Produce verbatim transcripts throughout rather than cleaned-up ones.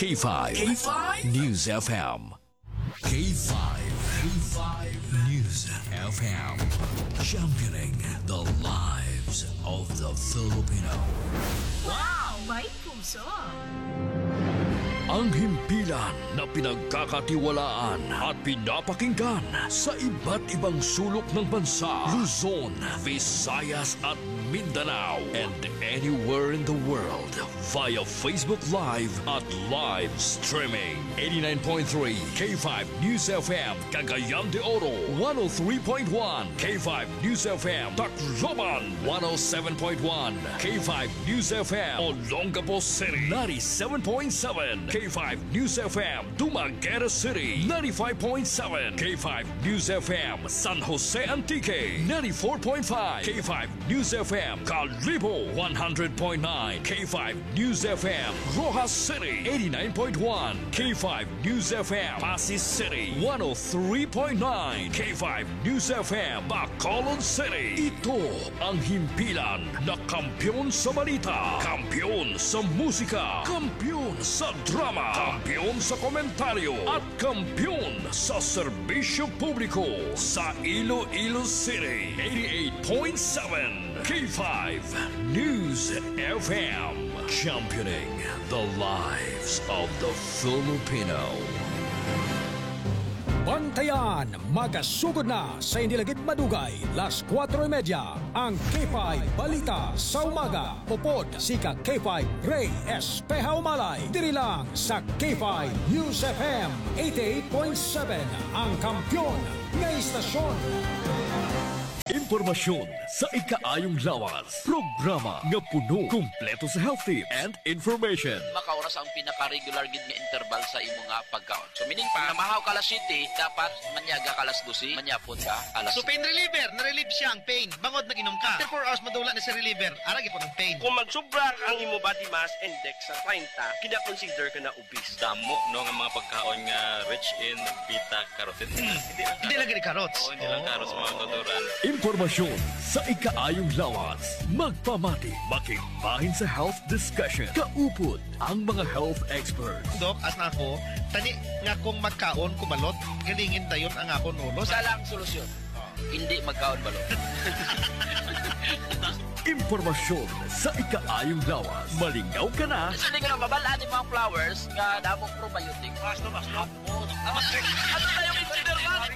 K five. K five. News F M. K five. K five News F M. Championing the lives of the Filipino. Wow! May puso! Ang himpilan na pinagkakatiwalaan at pinapakinggan sa iba't ibang sulok ng bansa, Luzon, Visayas at Mindanao, and anywhere in the world via Facebook Live at live streaming. Eighty-nine point three K five News F M, Cagayan de Oro, one oh three point one K five News F M, Tacloban, one oh seven point one K five News F M, Olongapo City, ninety-seven point seven K five News F M, Dumaguete City, ninety-five point seven K five News F M, San Jose Antique, ninety-four point five K five News F M, Kalibo, one hundred point nine K five News F M, Roxas City, eighty-nine point one K five News F M, Passi City, one oh three point nine K five News F M, Bacolod City. Ito ang himpilan na kampiyon sa balita, kampiyon sa musika, kampiyon sa drama, kampiyon sa komentaryo, at kampiyon sa serbisyo publiko sa Iloilo City. Eighty-eight point seven K five News F M, championing the lives of the Filipino. Bantayan, magasugod na sa hindi lagid madugay, las kuwatro y media, ang K five Balita sa Umaga. Upod si ka K five Ray Espeha Umalay, diri lang sa K five News F M eighty-eight point seven, ang kampiyon nga istasyon. Impormasyon sa ikaayong lawas. Programa nga puno, kumpleto sa health tip and information. Makaoras ang pinaka-regular gid nga interval sa imo nga pagkaon. So, meaning pa, namahaw ka alas siyete, dapat manyaga ka alas dose, manyapon ka alas So, pain reliever, na-relieve siya ang pain. Bangod nag-inom ka. After four hours, madula na si reliever. Ara gyapon ang pain. Kung magsubra ang imo body mass index sa treinta, kina-consider ka na obese. Damo, no, nga mga pagkaon nga rich in beta carotene. Hindi lang Hindi lang gani carrots. Oo, hindi lang carrots, mga kauturan. Impormasyon sa ikaayong lawas. Magpamati, makigbahin sa health discussion. Kaupod ang mga health experts. Dok, as na ako, tani nga kung magkaon ko balot, galingin dayon ang akon ulo. Isa lang solusyon. Hindi magkaon balot. Impormasyon sa ikaayong lawas. Malingaw ka na. Kasi di ka na mabal-an yung mga flowers nga damong probiotic. Mas to, mas to. Ano na yung engineer man?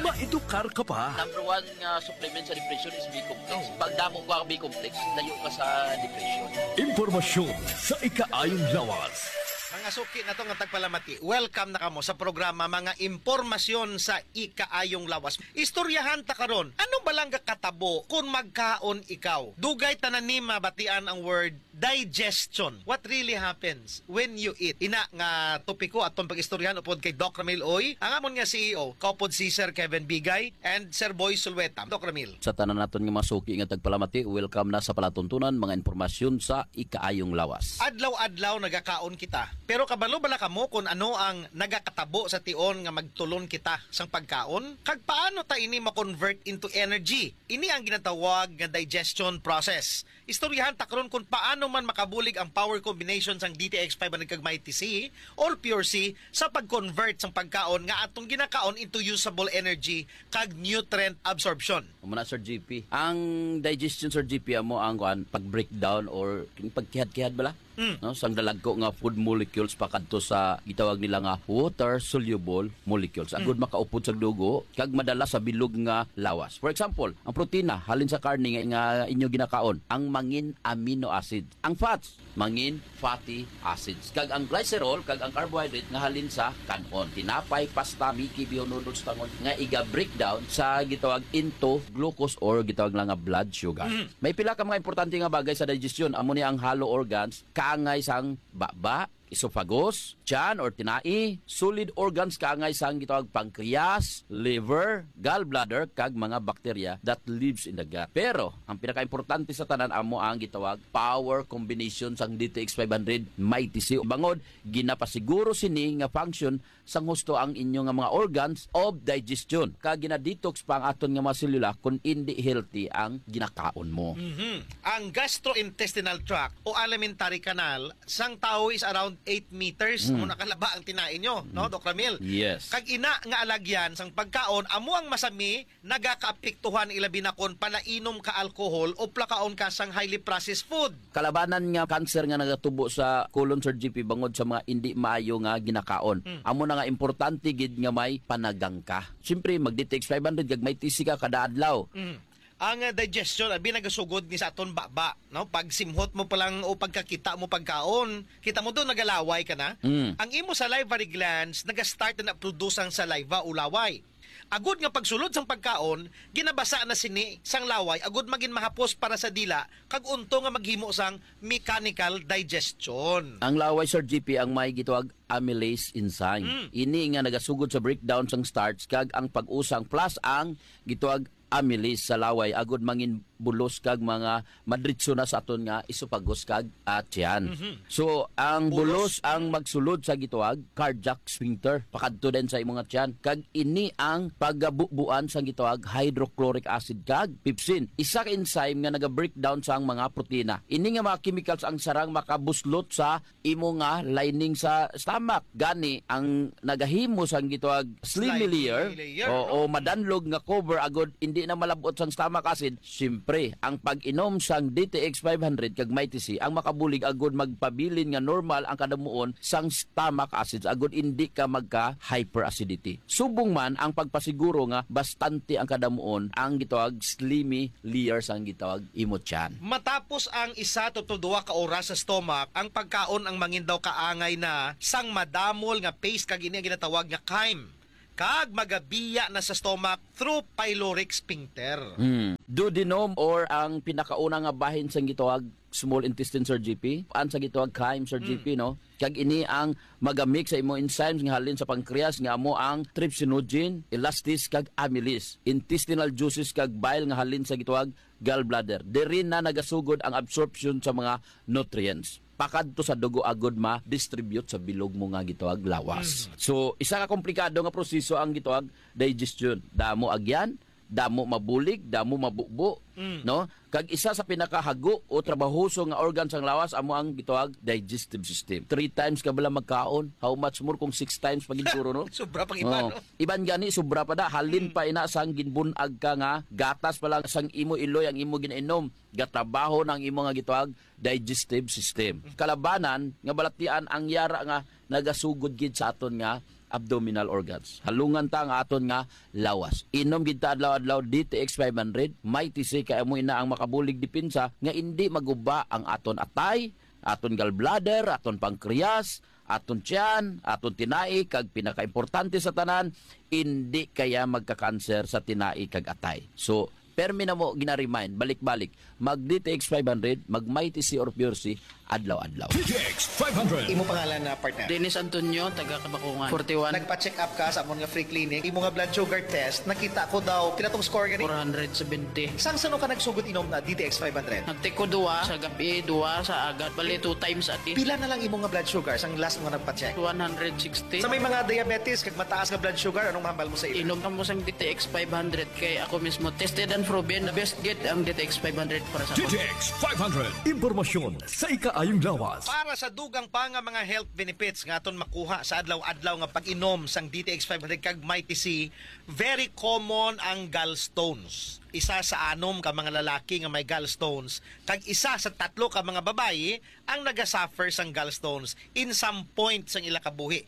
Maedukar ka pa. Number one nga supplement sa depression is B complex. Oh. Pag damo ka B complex, layo ka sa depression. Impormasyon sa ikaayong lawas. Mga suki na to nga tagpalamati, welcome na kamo sa programa Mga Impormasyon sa Ikaayong Lawas. Istoryahan ta karon, ano ba lang gakatabo kung magkaon ikaw? Dugay tanan ni mabatian ang word digestion. What really happens when you eat? Ina nga topiko aton pag-istoryahan upod kay Doc Ramil Uy, ang amon nga C E O, kaupod si Sir Kevin Bigay and Sir Boy Sulweta. Doc Ramil. Sa tanan naton nga mga suki nga tagpalamati, welcome na sa palatuntunan, mga impormasyon sa ikaayong lawas. Adlaw-adlaw nagakaon kita. Pero kabalo bala kamo kung ano ang nagakatabo sa tion nga magtulon kita sang pagkaon? Kag paano ta ini ma-convert into energy? Ini ang ginatawag nga digestion process. Istoryahan ta karon kung paano man makabulig ang power combination sang D T X five hundred kag Mighty C or Pure C sa pag-convert sang pagkaon nga atong ginakaon into usable energy kag nutrient absorption. Amo na, Sir G P. Ang digestion, Sir G P, amo ang kuan, pag-breakdown or king pagkihad-kihad bala? Mm. No, sang dalagko nga food molecules pakadto sa gitawag nila nga water soluble molecules. Agud Mm. makaupod sa dugo kag madala sa bilog nga lawas. For example, ang protina halin sa karne nga, nga inyo ginakaon, ang mangin amino acid. Ang fats, mangin fatty acids. Kag ang glycerol, kag ang carbohydrate nga halin sa kan-on. Tinapay, pasta, miki, bihon noodles, tangon, nga iga-breakdown sa gitawag into glucose or gitawag lang nga blood sugar. Mm. May pila ka mga importante nga bagay sa digestion. Amo ni ang hollow organs, kaangay sang baba, esophagus, tiyan or tinai, solid organs kaangay sang gitawag pancreas, liver, gallbladder, kag mga bakterya that lives in the gut. Pero, ang pinakaimportante sa tanan amo ang gitawag power combination sang D T X five hundred Mighty C. Bangod, ginapasiguro sini nga function sang husto ang inyo nga mga organs of digestion, kag gina-detox pa ang aton nga mga selula kung indi healthy ang ginakaon mo. Mhm. Ang gastrointestinal tract o alimentary canal sang tawo is around eight meters, Mm. mo nakalaba ang tinai nyo, no, Mm. Doc Ramil? Yes. Kag ina nga alagyan sang pagkaon, amo ang masami, nagakaapektuhan, ilabi na kon palainom ka alcohol o plakaon ka sang highly processed food. Kalabanan nga cancer nga nagatubo sa colon, Sir G P, bangod sa mga indi maayo nga ginakaon. Mm. Amo na nga importante gid nga may panagang ka. Siyempre, mag-D T X five hundred kag may tisi ka kada adlaw. Mm. Ang, ah, digestion, abi, nagasugod ni sa aton baba, no? Pag simhot mo pa lang o pagkakita mo pagkaon, kita mo doon, nagalaway ka na. Mm. Ang imo salivary glands, naga-start na produce ang saliva o laway. Agud nga pagsulod sang pagkaon, ginabasa na sini sang laway, agud magin mahapos para sa dila, kag unto nga maghimo sang mechanical digestion. Ang laway, Sir G P, ang may gitawag amylase enzyme. Mm. Ini nga nagasugod sa breakdown sang starch kag ang pag-usang plus ang gitawag amylase sa laway agud mangin bulos kag mga madritso na sa aton nga esophagus kag, ah, tiyan. Mhm. So, ang Bulos. bulos ang magsulod sa gitawag cardiac sphincter pakadto din sa imo nga tiyan. Kag ini ang pagabubuan sa gitawag hydrochloric acid kag pepsin. Isa ka enzyme nga naga-breakdown sa mga protina. Ini nga mga chemicals ang sarang makabuslot sa imo nga lining sa stomach. Gani, ang nagahimo sang gitawag slimy Slimy layer, layer, o, no? o madanlog nga cover agud hindi na malabot sang stomach acid, siyempre, ang pag-inom sang D T X five hundred kag Mighty C ang makabulig agud magpabilin nga normal ang kadamuon sang stomach acids agud hindi ka magka hyperacidity. Subong man ang pagpasiguro nga bastante ang kadamuon ang gitawag slimy layer sang gitawag imo tiyan. Matapos ang isa to, to duha ka oras sa stomach, ang pagkaon ang mangin daw kaangay na sang madamol nga paste kag ini ang ginatawag nga chyme, kag magabiya na sa stomach through pyloric sphincter. Hmm. Duodenum or ang pinakauna nga bahin sang gitawag small intestine, Sir G P, ang sa gitawag chyme, Sir Hmm. G P, no? Kag ini ang magamik sa imo enzymes nga halin sa pancreas nga amo ang trypsinogen, elastase kag amylase, intestinal juices kag bile nga halin sa gitawag gallbladder. Diri na nagasugod ang absorption sa mga nutrients pakadto sa dugo agud ma-distribute sa bilog mo nga gitawag lawas. Mm. So, isa ka komplikado nga proseso ang gitawag digestion. Damo agyan, damo mabulig, damo mabubo, Mm. no? Kag isa sa pinakahago o trabahoso nga organ sang lawas amo ang gitawag digestive system. Three times ka bala magkaon, how much more kung six times pa gid siguro, no? Sobra pang iba, Oo. no? Iban gani, sobra pa da. Halin Mm. pa ina sang ginbun-ag ka nga gatas pa lang sang imo iloy ang imo ginainom. Gatrabaho na ang imo nga gitawag digestive system. Kalabanan nga balatian ang yara nga nagasugod gid sa aton nga abdominal organs. Halungan ta nga aton nga lawas. Inom gid ta adlaw-adlaw D T X five hundred, Mighty C kay amo ina ang makabulig depensa nga indi maguba ang aton atay, aton gallbladder, aton pancreas, aton tiyan, aton tinai, kag pinakaimportante sa tanan, indi kaya magka-cancer sa tinai kag atay. So, permi na mo gina-remind, balik-balik, mag D T X five hundred, mag Mighty C or Pure C, adlaw-adlaw. D T X five hundred. Imo pangalan na partner? Dennis Antonio, taga Kabakungan, forty-one. Nagpa-check up ka sa amon nga free clinic. Imo nga blood sugar test, nakita ko daw, pila tong score gani? Four hundred seventy. Sang sano ka nagsugod inom na D T X five hundred? Nagtiko duwa sa gabi, duwa sa agat, bali two times a day. Pila na lang imo nga blood sugar sang last mo nagpa-check? One hundred sixty. Sa may mga diabetes kag mataas nga blood sugar, anong mahambal mo sa ila? Inom kamo sang D T X five hundred kay ako mismo tested and proven, the best gid ang D T X five hundred para sa D T X five hundred. Impormasyon sa ikaayong lawas. Para sa dugang pa nga mga health benefits nga aton makuha sa adlaw-adlaw nga pag-inom sang D T X five hundred kag Mighty C, very common ang gallstones. Isa sa anom ka mga lalaki nga may gallstones, kag isa sa tatlo ka mga babayi ang nagasuffer sang gallstones in some point sang ila kabuhi.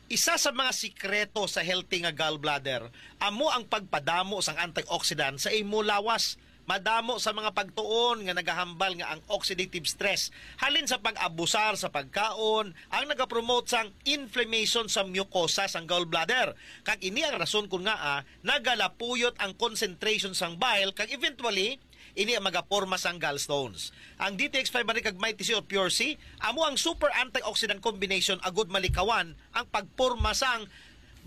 Isa sa mga sikreto sa healthy nga gallbladder amo ang pagpadamo sang antioxidant sa imo lawas. Madamo sa mga pagtuon nga nagahambal nga ang oxidative stress halin sa pag-abusar sa pagkaon ang nagapromote sang inflammation sa mucosa sang gallbladder. Kag ini ang rason kon ngaa nagalapuyot ang concentration sang bile kag eventually ini ang magaporma sang gallstones. Ang D T X five hundred kag Mighty C or Pure C amo ang super antioxidant combination agud malikawan ang pagporma sang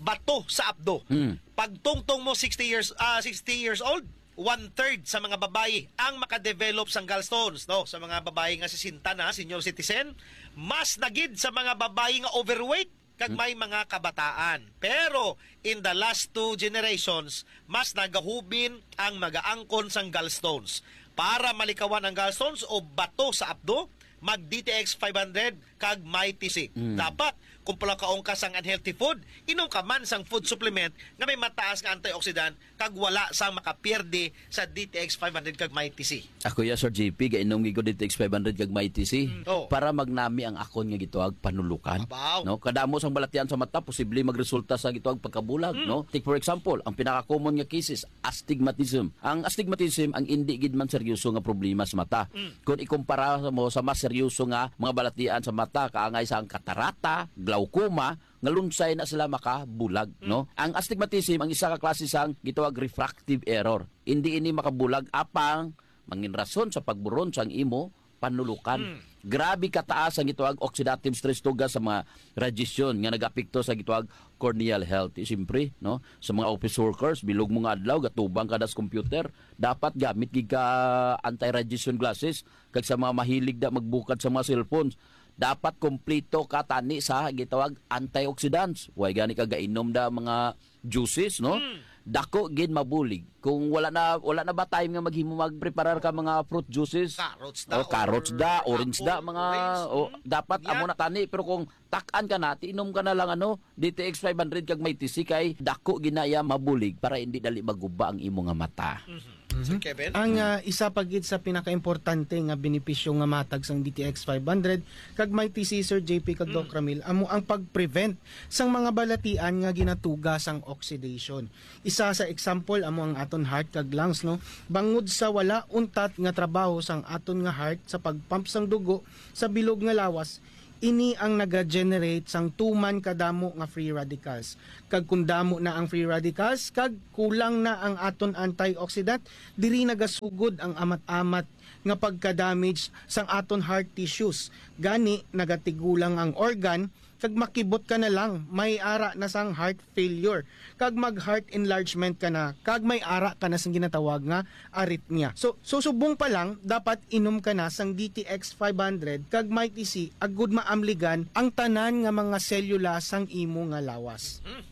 bato sa apdo. Hmm. Pagtungtong mo sixty years, ah, sixty years old, one-third sa mga babayi ang makadevelop sang gallstones, no? Sa mga babayi nga sesenta na, senior citizen, mas na gid sa mga babayi nga overweight kag Hmm. may mga kabataan. Pero in the last two generations, mas nagahubin ang magaangkon sang gallstones. Para malikawan ang gallstones o bato sa apdo, mag-D T X five hundred kag Mighty C. Mm. Dapat, kung pala kaon ka sang unhealthy food, inom ka man sang food supplement nga may mataas nga antioxidant kag wala sang makapierde sa D T X five hundred kag Mighty C. Ako ya, Sir J P, gainom gid ko D T X five hundred kag Mighty C. Mm. Oh. Para magnami ang akon nga gitawag panulukan. Abaw. No? Kadamo sang balatian sa mata, posible magresulta sa gitawag pagkabulag, Mm. no? Take for example, ang pinaka-common nga cases, astigmatism. Ang astigmatism ang indi gid man seryoso nga problema sa mata. Mm. Kung ikumpara mo sa mas seryoso nga mga balatian sa mata, kaangay sa ang katarata, glaucoma, nga lunsay na sila makabulag, Mm. no? Ang astigmatism ang isa ka klase sang gitawag refractive error. Indi ini makabulag apang mangin rason sa pagburon sang imo panulukan. Mm. Grabe kataas ang gitawag oxidative stress tungod sa mga radiation nga nag-apekto sa gitawag corneal health. Eh, siyempre, no? Sa mga office workers, bilog mo nga adlaw, gatubang ka das computer, dapat gamit gid ka anti-radiation glasses. Kag sa mga mahilig da magbukad sa mga cellphones, dapat kompleto ka tani sa gitawag antioxidants. Way gani ka gainom da mga juices, no? Mm. Dako gid mabulig. Kung wala na, wala na ba time nga maghimo, magpreparar ka mga fruit juices? Carrots da, O, carrots or da, orange da, apple, mga, orange, o, mm. dapat Yeah. amo na tani. Pero kung tak-an ka na, tiinom ka na lang, ano, D T X five hundred kag Mighty C kay dako ginaya mabulig para hindi dali maguba ang imo nga mata. Mhm. Sir Mhm. Kevin? Ang, Mm. ah, isa pa gid sa pinakaimportante nga benepisyo nga matag sang D T X five hundred kag Mighty C, Sir J P kag Mm. Doc Ramil, amo ang pag-prevent sang mga balatian nga ginatuga sang oxidation. Isa sa example amo ang aton heart kag lungs, no? Bangod sa wala untat nga trabaho sang aton nga heart sa pag-pump sang dugo sa bilog nga lawas, ini ang naga-generate sang tuman kadamo nga free radicals. Kag kung damo na ang free radicals, kag kulang na ang aton antioxidant, diri nagasugod ang amat-amat nga pagka-damage sang aton heart tissues. Gani, nagatigulang ang organ, kag makibot ka na lang, may ara na sang heart failure, kag mag-heart enlargement ka na, kag may ara ka na sang ginatawag nga arrhythmia. So, so subong pa lang, dapat inom ka na sang D T X five hundred kag Mighty C agud maamligan ang tanan nga mga selula sang imo nga lawas. Hmm.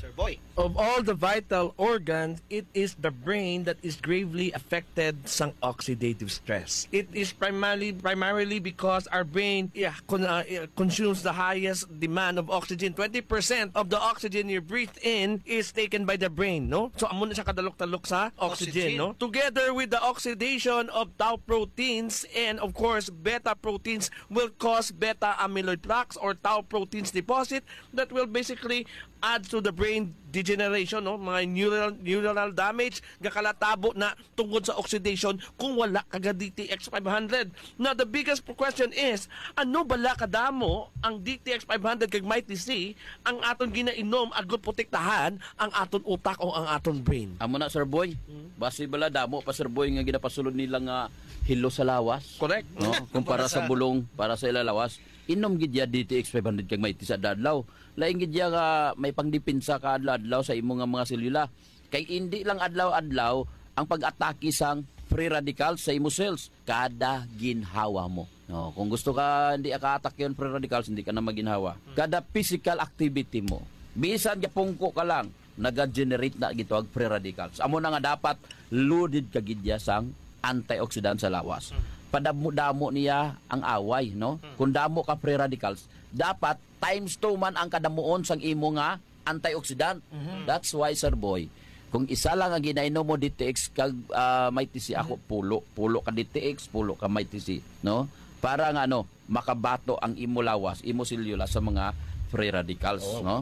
Sir Boy. Of all the vital organs, it is the brain that is gravely affected sang oxidative stress. It is primarily primarily because our brain, yeah, con- uh, uh, consumes the highest demand of oxygen. Twenty percent of the oxygen you breathe in is taken by the brain, no? So, amo na siya kadalok-dalok sa oxygen, Oxygen. no? Together with the oxidation of tau proteins and, of course, beta proteins will cause beta amyloid plaques or tau proteins deposit that will basically add to the brain degeneration, no? Mga neural, neuronal damage, gakalatabo na tungod sa oxidation kung wala ka ga D T X five hundred. Now, the biggest question is, ano bala kadamo ang D T X five hundred kag Mighty C ang aton ginainom agud protektahan ang aton utak o ang aton brain? Amo na, Sir Boy. Hmm. Basi bala damo pa, Sir Boy, nga ginapasulod nila nga hilo sa lawas. Correct. No? Kumpara Para sa sa bulong, para sa ila lawas. Inom gid ya D T X five hundred kag Mighty C sa adlaw. Lain gid ya nga may pangdepensa ka adlaw-adlaw sa imo nga mga selula. Kay indi lang adlaw-adlaw ang pag-atake sang free radicals sa imo cells kada ginhawa mo. No, kung gusto ka hindi ka atakyon free radicals, hindi ka na maginhawa. Hmm. Kada physical activity mo, bisan gapungko ka lang, naga-generate na gitawag free radicals. Amo na nga dapat loaded ka gid ya sang antioxidant sa lawas. Hmm. Padamo-damo niya ang away, no? Hmm. Kung damo ka free radicals, dapat times two man ang kadamuon sang imo nga antioxidant. Mhm. That's why, Sir Boy, kung isa lang ang ginainom mo, D T X kag, ah, Mighty C, ako, Mhm. pulo. Pulo ka D T X, pulo ka Mighty C, no? Para nga, ano, makabato ang imo lawas, imo selula sa mga free radicals, Oo. no?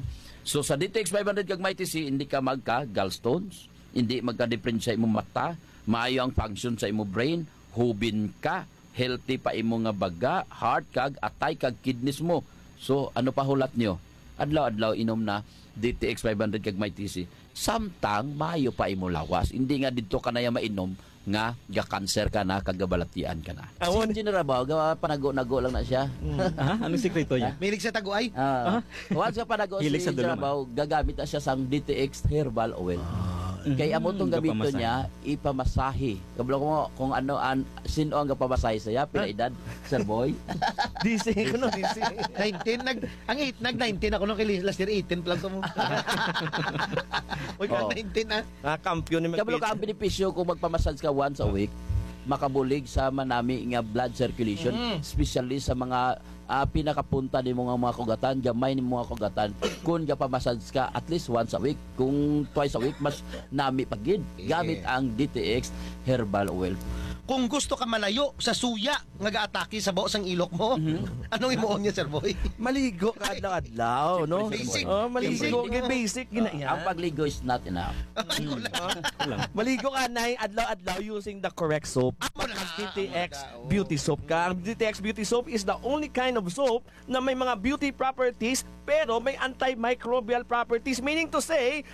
So, sa D T X five hundred kag Mighty C, hindi ka magka gallstones, hindi magka-depresya imo mata, maayo ang function sa imo brain, hubin ka, healthy pa imo nga baga, heart kag atay kag kidneys mo. So, ano pa hulat nyo? Adlaw-adlaw inom na D T X five hundred kag Mighty C. Samtang maayo pa imo lawas. Hindi nga didto ka na ya mainom nga ga-cancer ka na kag gabalatian ka na. Awon. Si General Bao, ga panago-nago lang na siya. Mm. Ha? Anong sikreto niya? Mahilig sa taguay? Ah, Ah? once nga panago Hilig si sa General duluma. Bao, gagamit na siya sang D T X herbal oil. Ah. Kay amo tong Mm, gamiton gapamasahe. niya, ipamasahe. Kabalo ko mo kung ano an sino ang gapamasahe sa iya, pila Ah. edad, Sir Boy? Di si, ano? Di si. Nineteen, nag, ang eight, nag nineteen ako nung kay last year, eighteen pa lang to mo. Uy, ka Oo. nineteen, ah. Ah, kampiyon ni Kabalo ka, ang Magpit. benepisyo kung magpamassage ka once a week, makabulig sa manami nga blood circulation, Mm. especially sa mga, ah, pinakapunta nimo nga mga kugatan, gamay nimo nga kugatan. Kung gapamassage ka at least once a week, kung twice a week, mas nami pa gid. Gamit ang D T X Herbal Oil. Kung gusto ka malayo sa suya nga gaatake sa baho sang ilok mo, Mhm. anong imuon niya, Sir Boy? Maligo ka adlaw-adlaw, no? Basic. Oh, maligo. Basic. Basic, gina-, Ah, yan. Ang pagligo is not enough. Ay, wala. Maligo ka na adlaw-adlaw using the correct soap. Amo na, Because D T X amo na, oo. Beauty Soap ka. Ang D T X Beauty Soap is the only kind of soap na may mga beauty properties, pero may antimicrobial properties. Meaning to say,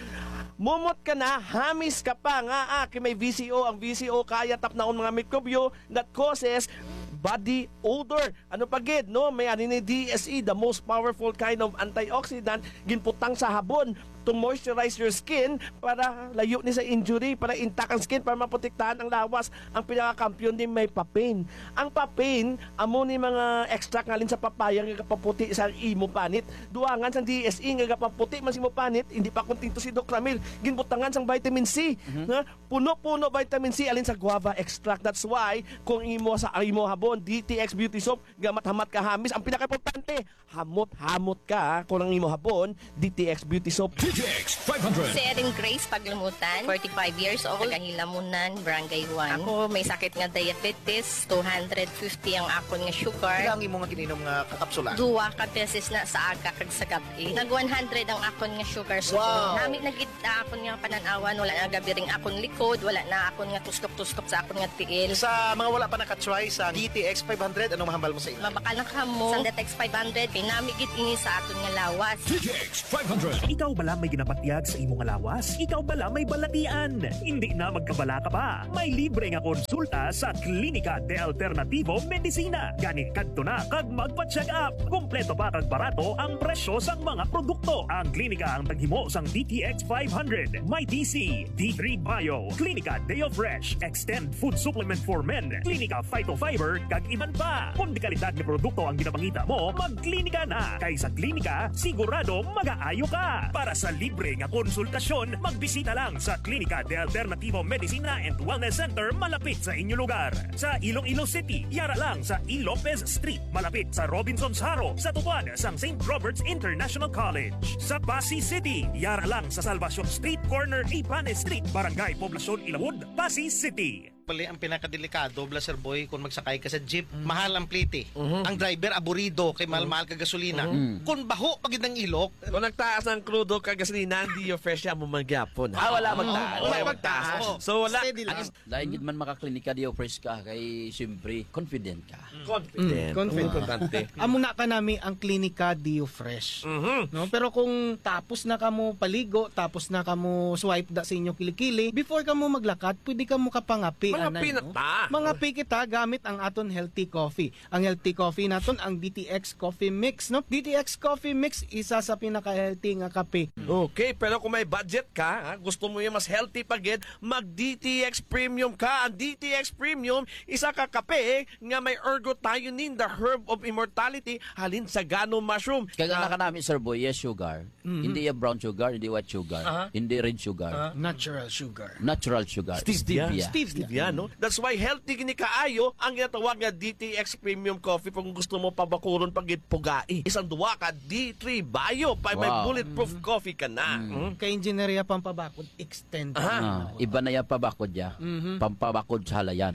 mumot ka na, hamis ka pa nga, ah, kay may V C O. Ang V C O kaya tapnaon mga mikrobyo that causes body odor. Ano pa gid, no? May ani ni D S E, the most powerful kind of antioxidant, ginputang sa habon to moisturize your skin para layo ni sa injury, para intact ang skin, para maprotektahan ang lawas. Ang pinakakampiyon din may papain. Ang papain, amo ni mga extract ngalin sa papaya nga gapaputi sa imo panit. Duangan sang D S E nga gapaputi man sa imo panit, hindi pa kontento si Doc Ramil. Ginbutangan sang vitamin C, Mhm. nga puno-puno vitamin C alin sa guava extract. That's why kung imo sa imo habon, D T X Beauty Soap, gamat-hamat ka hamis. Ang pinakaimportante, hamot-hamot ka, ha, kung ang imo habon, D T X Beauty Soap. D T X five hundred. Si Erin Grace Paglamutan, forty-five years old, taga Hilamunan, Barangay one. Ako, may sakit nga diabetes, two hundred fifty ang akon nga sugar. Pila ang imo nga gininom nga kapsula? Duwa ka beses na sa aga kag sa gab-i. Nag one hundred ang akon nga sugar. So, Wow! nami na gid akon nga panan-awan, wala na gabi ring akon likod, wala na akon nga tuslok-tuslok sa akon nga tiil. Sa mga wala pa naka-try sa D T X five hundred, anong mahambal mo sa ila? Mabakal na kamo. Sa D T X five hundred, kay nami gid ini sa aton nga lawas. D T X five hundred. Ikaw bala may ginabatyag sa imo nga lawas? Ikaw bala may balatian? Hindi na magkabalaka pa. May libre nga konsulta sa Klinika de Alternativo Medicina. Gani kadto na kag magpa-check up. Kompleto pa kag barato ang presyo sang mga produkto. Ang klinika ang taghimo sang D T X five hundred, may D C, D three Bio, Klinika Deo Fresh, Extend Food Supplement for Men, Klinika Phytofiber, kag iban pa. Kung dekalidad nga produkto ang ginapangita mo, magklinika na. Kay sa klinika, sigurado magaayo ka. Para sa libre nga konsultasyon, magbisita lang sa Klinika de Alternativo Medicina and Wellness Center malapit sa inyo lugar. Sa Iloilo City, yara lang sa E. Lopez Street, malapit sa Robinsons Haro, sa tupad sang Saint Robert's International College. Sa Passi City, yara lang sa Salvacion Street, corner Ibanes Street, Barangay Poblacion, Ilawod, Passi City. Pali ang pinakadelikado, bala, Sir Boy, kung magsakay ka sa jeep, Mm. mahal ang plete. Mhm. Ang driver, aburido, kay mahal-mahal ka gasolina. Mhm. Mm. Kung baho pa gid ang ilok, Kung nagtaas ang krudo kag gasolina, ang Deo Fresh amo man gyapon. Ah, wala magtaas. Wala Wala magtaas. magtaas. So, wala. Steady lang. Lain gid man makaklinika, Deo Fresh ka, kay siyempre, confident ka. Confident. Mm, confident. Importante. Amo na kanami ang klinika Deo Fresh. Mhm. No? Pero kung tapos na kamo paligo, tapos na kamo swipe da sa inyo kilikili, before kamo maglakad, pwede kamo kapangapi, Mangapi anay, na no? ta. Mangapi kita gamit ang aton healthy coffee. Ang healthy coffee naton, ang D T X Coffee Mix, no? D T X Coffee Mix, isa sa pinaka-healthy nga kape. Okay, pero kung may budget ka, ha, gusto mo yung mas healthy pa gid, mag D T X Premium ka. Ang D T X Premium, isa ka kape nga may ergothioneine, the herb of immortality, halin sa gano mushroom. Kaya Ah. na kanami, Sir Boy, yes, sugar. Mhm. Hindi yung brown sugar, hindi white sugar, Aha. hindi red sugar. Aha. Natural sugar. Natural sugar. Stevia. Stevia. Stevia. Stevia, no? That's why healthy gini kaayo ang ginatawag nga D T X Premium Coffee kung gusto mo pabakuron pagit pugai. Isang duwa ka D three Bio, pa may Wow. bulletproof Mm. coffee ka na. Mm. Mm. Kay Engineeria Pampabakod, extend. Aha. Ah, iba na yan pabakod ya. Mhm. Pampabakod sa halayan.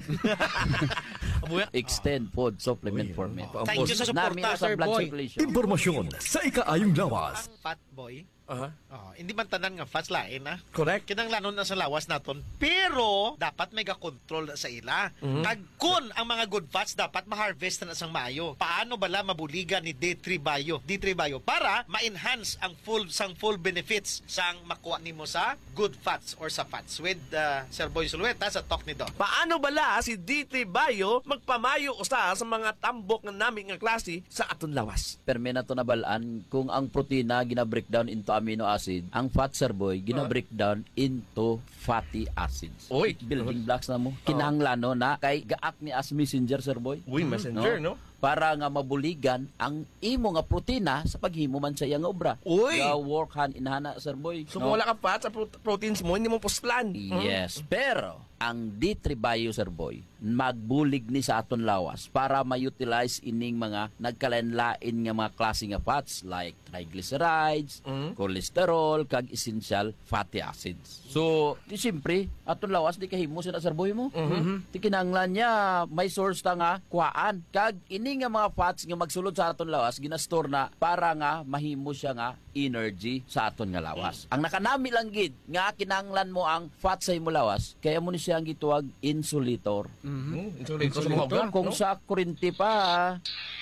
Abuya. Extend food supplement Uy, for men. pa-, Thank you sa Nami suporta, na sa Sir blood Boy. circulation. Impormasyon sa ikaayong lawas. Ang fat boy. Aha. Oh, hindi man tanan nga fats, lain, ah. Correct. Kinahanglanon na sa lawas naton, pero dapat may ga-control na sa ila. Mhm. Kag kun ang mga good fats dapat ma-harvest na sang maayo. Paano bala mabuligan ni D three Bio, D three Bio para ma-enhance ang full, sang full benefits sang makuha nimo sa good fats or sa fats with, uh, Sir Boy Sulueta sa Talk ni Doc. Paano bala si D three Bio magpamayo usa sa mga tambok nga nami nga klase sa aton lawas? Permi na to nabalaan kung ang protina gina-breakdown into amino acid, ang fat, Sir Boy, gina-breakdown into fatty acids. Oy. Building blocks na mo. Oh. Kinahanglan, no, na kay gaak ni as messenger, Sir Boy. Uy, messenger, no? Para nga mabuligan ang imo nga protina sa paghimo man sa iya nga obra. Uy. Ga-work hand in hand na, Sir Boy. So, kung wala ka fat sa pro-, proteins mo, hindi mo puslan. Yes, pero ang D three Bio, Sir Boy, magbulig ni sa aton lawas para ma-utilize ining mga nagkalain-lain nga mga klase nga fats like triglycerides, Mm. cholesterol, kag essential fatty acids. So, di siyempre, aton lawas di kahimo sina, Sir Boy, mo. Mhm. Di kinahanglan niya may source ta nga kuhaan. Kag ini nga mga fats nga magsulod sa aton lawas, ginastor na para nga mahimo siya nga energy sa aton nga lawas. Mm. Ang nakanami lang gid nga kinahanglan mo ang fat sa imo lawas, kaya mo ni siya ang gituwag insulator. Mhm. Hmm, insulator sa mga Insulator, ugat, kung no? sa kurinti pa,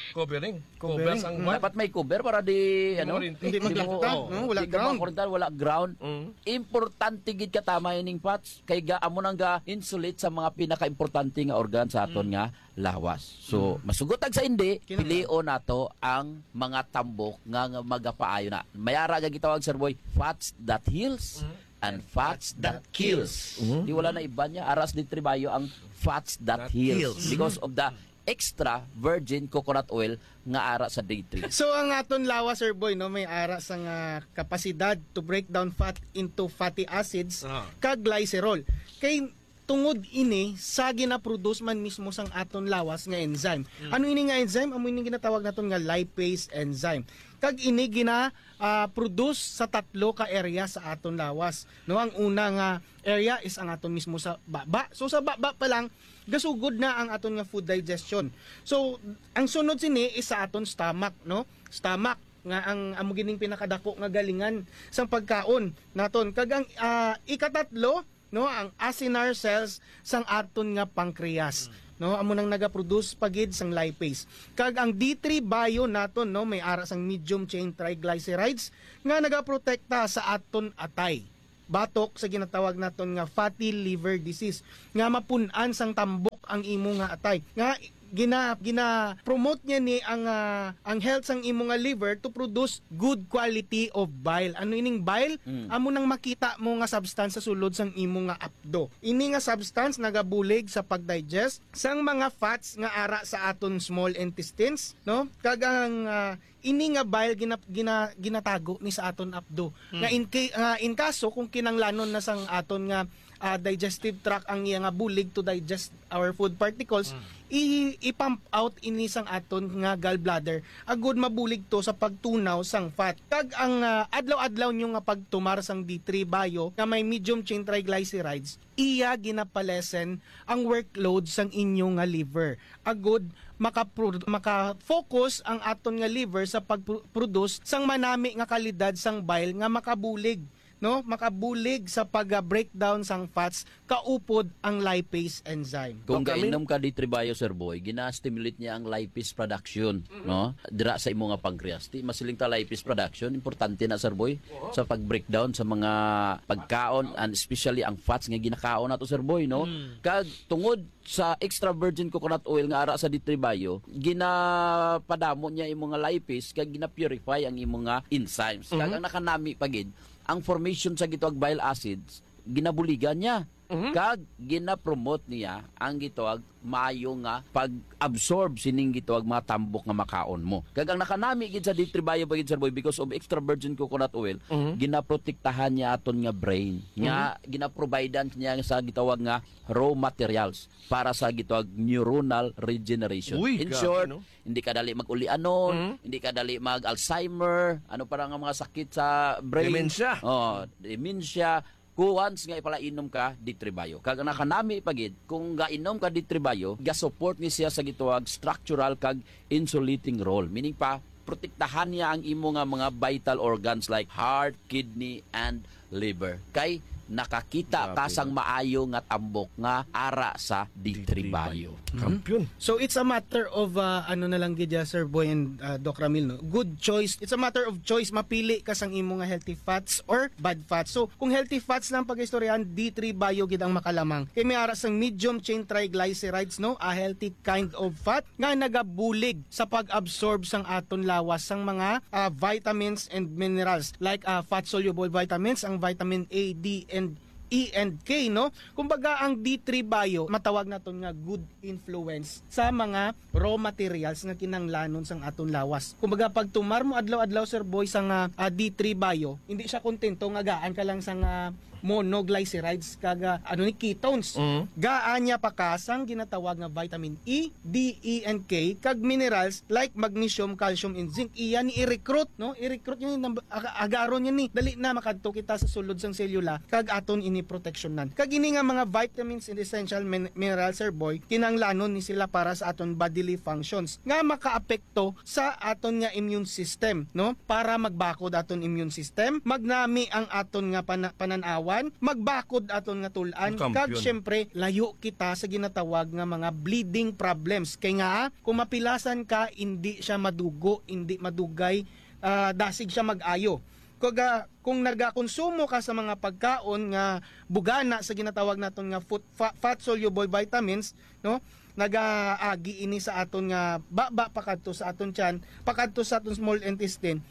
Covering. Covering, Covers ang mm. ugat. Dapat may cover para di, Hindi ano, makurinti. Hindi di mo, magkita, oo, no? Wala di ka ground. makurintan, wala ground. Mm. Importante gid katama ining fats kay ga amo nang ga insulate sa mga pinakaimportante nga organ sa aton Mm. nga lawas. So, Mm. masugot ag sa hindi, Kinahanglan. pilion nato ang mga tambok nga, nga magapaayo na. May ara nga gitawag, Sir Boy, fats that heals Mm. and fats that kills. Mm. Di wala na iba niya. Aras di tribayo ang fats that That heals heals. because of the extra virgin coconut oil nga ara sa D three. So, ang aton lawas, Sir Boy, no, may ara sa nga kapasidad to break down fat into fatty acids Ah. kag glycerol. Kay tungod ini sa ginaproduce man mismo sang aton lawas nga enzyme. Mm. Ano ini nga enzyme? Amo ini ginatawag naton nga lipase enzyme. Kag ini gina, ah, produce sa tatlo ka area sa aton lawas. No, ang una nga area is ang aton mismo sa baba. So sa baba pa lang gasugod na ang aton nga food digestion. So ang sunod sini is sa aton stomach, no? Stomach nga ang amo gining pinakadako nga galingan sang pagkaon naton. Kag ang, ah, ikatatlo, no, ang acinar cells sang aton nga pancreas, Mm. no, amo nang nagaproduce pa gid sang lipase. Kag ang D three Bio naton, no, may ara sang medium chain triglycerides nga nagaprotekta sa aton atay batok sa ginatawag naton nga fatty liver disease, nga mapun-an sang tambok ang imo nga atay. Nga gina gina-promote niya ni ang, ah, ang health sang imo nga liver to produce good quality of bile. Ano ining bile? Mm. Amo nang makita mo nga substance sa sulod sang imo nga apdo. Ini nga substance nagabulig sa pag-digest sang mga fats nga ara sa aton small intestines, no? Kag ang, ah, ini nga bile gina-, gina-, ginatago ni sa aton apdo. Mm. Nga in ca-, nga in kaso kung kinanglanon na sang aton nga, ah, digestive tract ang iya nga bulig to digest our food particles, Mm. i-, i-pump out ini sang aton nga gallbladder agud mabulig to sa pagtunaw sang fat. Kag ang, ah, adlaw-adlaw nyo nga pagtumar sang D three Bio nga may medium chain triglycerides, iya ginapalesen ang workload sang inyo nga liver. Agud makapro-, maka-focus ang aton nga liver sa pag-produce sang manami nga kalidad sang bile nga makabulig, no? Makabulig sa pag-breakdown sang fats kaupod ang lipase enzyme. Kung Dopamine? gainom ka D three Bio, Sir Boy, gina-stimulate niya ang lipase production, Mm-hmm. no? Dira sa imo nga pancreas. Ti masiling ta lipase production, importante na, Sir Boy, Oo. sa pag-breakdown sa mga pagkaon and especially ang fats nga ginakaon nato, Sir Boy, no? Mm. Kag tungod sa extra virgin coconut oil nga ara sa D three Bio, ginapadamo niya imo nga lipase kag gina-purify ang imo nga enzymes. Kag Mhm. ang nakanami pa gid, ang formation sa gitawag bile acids, ginabuligan niya. Mhm. Kag gina-promote niya ang gitawag maayo nga pag-absorb sining gitawag mga tambok nga makaon mo. Kag ang nakanami gid sa D three Bio pa gid, Sir Boy, because of extra virgin coconut oil, Mhm. ginaprotektahan niya aton nga brain. Nga Mhm. ginaprovidean niya sa gitawag nga raw materials para sa gitawag neuronal regeneration. Uy, In grabe, short, no? hindi ka dali mag-ulianon, Mhm. hindi ka dali mag-Alzheimer, ano pa nga mga sakit sa brain. Dementia. Oh, dementia. Kuwans nga ipalainom ka, D three Bio. Kag ang nakanami pa gid, kung gainom ka D three Bio, ga-support ni siya sa gitawag structural kag insulating role. Meaning pa, protektahan niya ang imo nga mga vital organs like heart, kidney, and liver. Kay nakakita Grabe ka sang na. maayo nga tambok nga ara sa D three D three Bio. Bio. Mhm. Kampiyon. So it's a matter of, uh, ano na lang gid, uh, Sir Boy and, uh, Doc Ramil, no? Good choice. It's a matter of choice. Mapili ka sang imo nga healthy fats or bad fats. So kung healthy fats lang pag-istoryahan, D three Bio gid ang makalamang. Kay may ara sang medium chain triglycerides, no? A healthy kind of fat nga nagabulig sa pag-absorb sang aton lawas sang mga, ah, vitamins and minerals like, ah, fat-soluble vitamins, ang vitamin A, D, and E and K, no? Kumbaga, ang D three Bio, matawag naton nga good influence sa mga raw materials nga kinahanglanon sang aton lawas. Kumbaga, pag tumar mo adlaw-adlaw, Sir Boy, sa nga, ah, D three Bio, hindi siya kontento nga gaan ka lang sa nga monoglycerides kag, ah, ano ni, ketones. Mm. Gaan niya pa ka sang ginatawag nga vitamin E, D, E, and K, kag minerals like magnesium, calcium, and zinc. Iya ni i-recruit, no? I-recruit niya ni, nab-, aga-, agaron niya ni. Dali na makadto kita sa sulod sang selula, kag aton ini proteksyonan. Kag ini nga mga vitamins and essential min-, minerals, Sir Boy, kinahanglanon ni sila para sa aton bodily functions nga makaapekto sa aton nga immune system, no? Para magbakod aton immune system, magnami ang aton nga pana-, panan-awan, magbakod aton nga tul-an, Ang kampiyon. kag syempre, layo kita sa ginatawag nga mga bleeding problems. Kay nga, kung mapilasan ka, hindi siya madugo, hindi madugay, ah, dasig siya mag-ayo. Kung, ah, kung nagakonsumo ka sa mga pagkaon nga bugana sa ginatawag naton nga food, fa-, fat-soluble vitamins, no? Nagaagi ini sa aton nga baba pakadto sa aton tiyan, pakadto sa aton small intestine.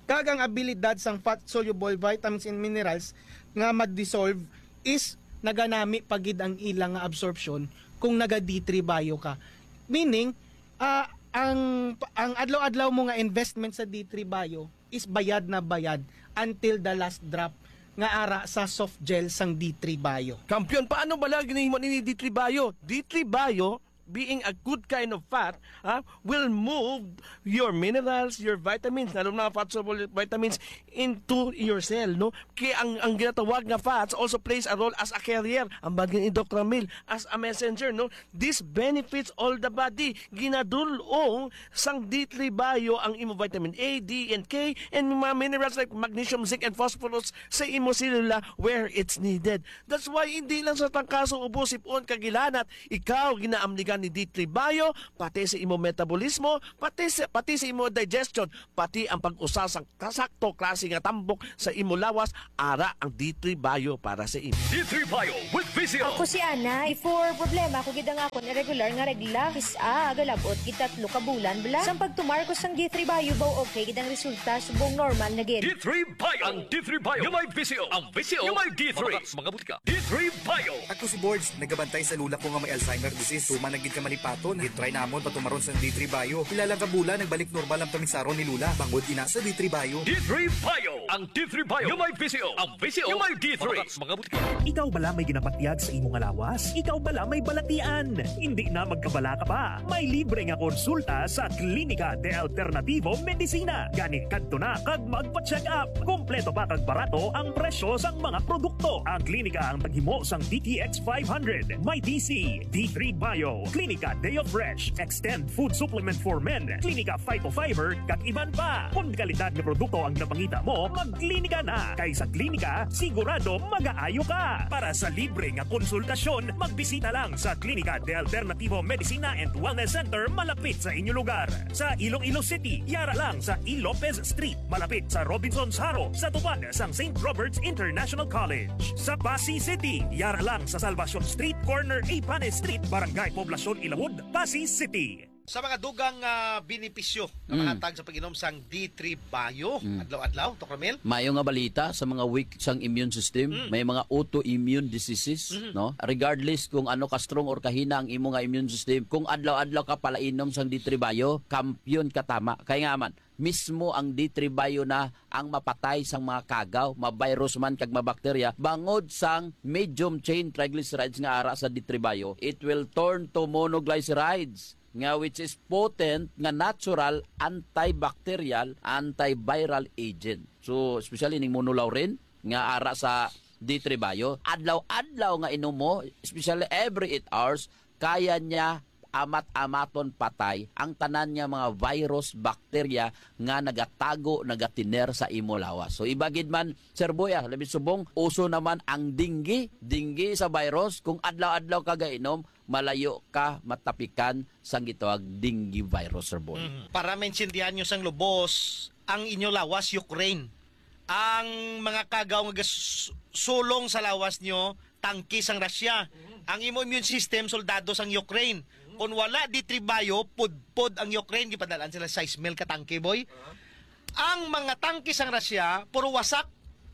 Kag ang abilidad sang fat-soluble vitamins and minerals nga ma-dissolve is naganami pa gid ang ila nga absorption kung naga D three Bio ka. Meaning, ah, ang, ang adlaw-adlaw mo nga investment sa D three Bio is bayad na bayad until the last drop nga ara sa soft gel sang D three Bio. Kampiyon, paano bala ginahimo ni D three Bio? D three Bio, being a good kind of fat, ha, will move your minerals, your vitamins, lalo na fat soluble vitamins, into your cell, no? Kaya ang, ang ginatawag nga fats also plays a role as a carrier, ang bagay ni Doc Ramil, as a messenger, no? This benefits all the body. Ginadul-ong sang D three Bio ang imo vitamin A, D, and K, and mga minerals like magnesium, zinc, and phosphorus sa imo selula where it's needed. That's why hindi lang sa tangkaso, ubo, sipon, kag hilanat, ikaw ginaamligan ni D three Bio, pati sa imo metabolismo, pati sa, pati sa imo digestion, pati ang pag-usa sang kasakto klase nga tambok sa imo lawas, ara ang D three Bio para sa imo. D three Bio with V C O. Ako si Ana. Before, problema ko gid ang akon irregular nga regla. Is-a, galabot gid tatlo ka bulan bala. Sang pagtumar ko sang D three Bio, baw okay gid ang resulta, subong normal na gid. D three Bio. Ang D three Bio nga may V C O. Ang V C O nga may D three. Mga, mga butika. D three Bio. Ako si Borge, nagabantay sa lula ko nga may Alzheimer disease. Tuman na gid ka malipaton. Gitry namon patumaron sang D three Bio. Pila lang ka bulan, nagbalik normal ang pamisaron ni Lula. Bangod ina sa D three Bio. D three Bio. Ang D three Bio nga may V C O. Ang V C O nga may D three. Mga, mga butika. Ikaw bala may ginapatyag sa imo nga lawas? Ikaw bala may balatian? Hindi na magkabala ka pa. May libre nga konsulta sa Klinika de Alternativo Medicina. Gani kadto na kag magpa-check up. Kompleto pa kag barato ang presyo sang mga produkto. Ang klinika ang naghimo sang D T X five hundred, may D C, D three Bio, Klinika Deo Fresh, Extend Food Supplement for Men, Klinika Phytofiber, kag iban pa. Kung kalidad nga produkto ang napangita mo, magklinika na. Kay sa klinika, sigurado magaayo ka. Para sa libre nga konsultasyon, magbisita lang sa Klinika de Alternativo Medicina and Wellness Center malapit sa inyo lugar. Sa Iloilo City, yara lang sa E. Lopez Street, malapit sa Robinsons Haro, sa tupad sang Saint Robert's International College. Sa Passi City, yara lang sa Salvacion Street, corner Ipanes Street, Barangay Poblacion Ilawod, Passi City. Sa mga dugang, ah, benepisyo nga Mm. mahatag sa pag-inom sang D three Bio, Mm. adlaw-adlaw, Doc Ramil? Maayo nga balita sa mga weak sang immune system, Mm. may mga autoimmune diseases, Mm. no? Regardless kung ano ka strong or kahina ang imo nga immune system, kung adlaw-adlaw ka palainom sang D three Bio, kampiyon ka tama. Kay nga man, mismo ang D three Bio na ang mapatay sang mga kagaw, ma-virus man kag mabakterya, bangod sang medium chain triglycerides nga ara sa D three Bio, it will turn to monoglycerides, nga which is potent nga natural antibacterial, antiviral agent. So, especially ning monolaurin nga ara sa D three Bio, adlaw-adlaw nga inom mo, especially every eight hours, kaya niya amat-amaton patay ang tanan nga mga virus, bakterya nga nagatago, nagatiner sa imo lawas. So, iba gid man, Sir Boy, ah, labi subong, uso naman ang dengue. Dengue sa virus, kung adlaw-adlaw ka gainom, malayo ka matapikan sang gitawag dengue virus, Sir Boy. Mm. Para maintindihan nyo sang lubos, ang inyo lawas, Ukraine. Ang mga kagaw nga gas-, sulong sa lawas nyo, tangke sang Russia. Mhm. Ang imo immune system, soldado sang Ukraine. Mhm. Kung wala D three Bio, pudpod ang Ukraine, gipadalaan sila sais mil ka tangke, boy. Aha. Ang mga tangke sang Russia, puro wasak.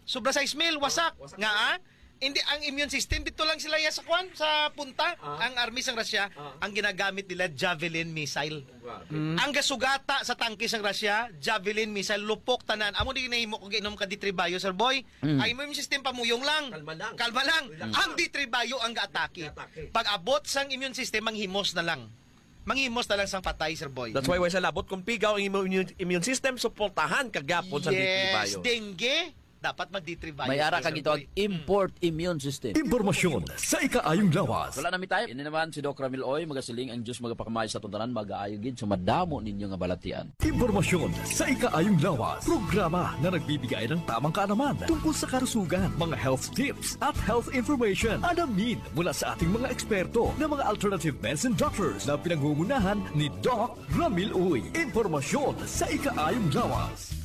Sobra sais mil, wasak. Wasak. Nga, ah? Hindi, ang immune system, dito lang sila ya sa kwan, sa punta. Ah. Ang army sang Russia, Ah. ang ginagamit nila, javelin missile. Grabe. Mm. Ang gasugata sa tangke sang Russia, javelin missile, lupok tanan. Amo di nahimo kung giinom ka D three Bio, Sir Boy. Mm. Ang immune system, pamuyong lang. Kalma lang. Kalma lang. Relax. Ang D three Bio ang gaatake. Gaatake. Pag abot sang immune system, manghimos na lang. Manghimos na lang sang patay, Sir Boy. That's why, way sa labot, kung pigaw ang imo immune, immune system, suportahan ka gyapon sa D three Bio. Yes, dengue, dapat mag-D three Bio. May ara ka, Sir gitawag Boy. Import immune system. Impormasyon sa ikaayong lawas. Wala na mi time. Ini naman si Doc Ramil Oy, magasiling ang Diyos magapakamay sa atong tanan, magaayo gid sa madamo ninyo nga balatian. Impormasyon sa ikaayong lawas. Programa na nagbibigay ng tamang kaalaman tungkol sa kalusugan, mga health tips at health information. Alamin mula sa ating mga eksperto na mga alternative medicine doctors na pinangungunahan ni Doc Ramil Uy. Impormasyon sa ikaayong lawas.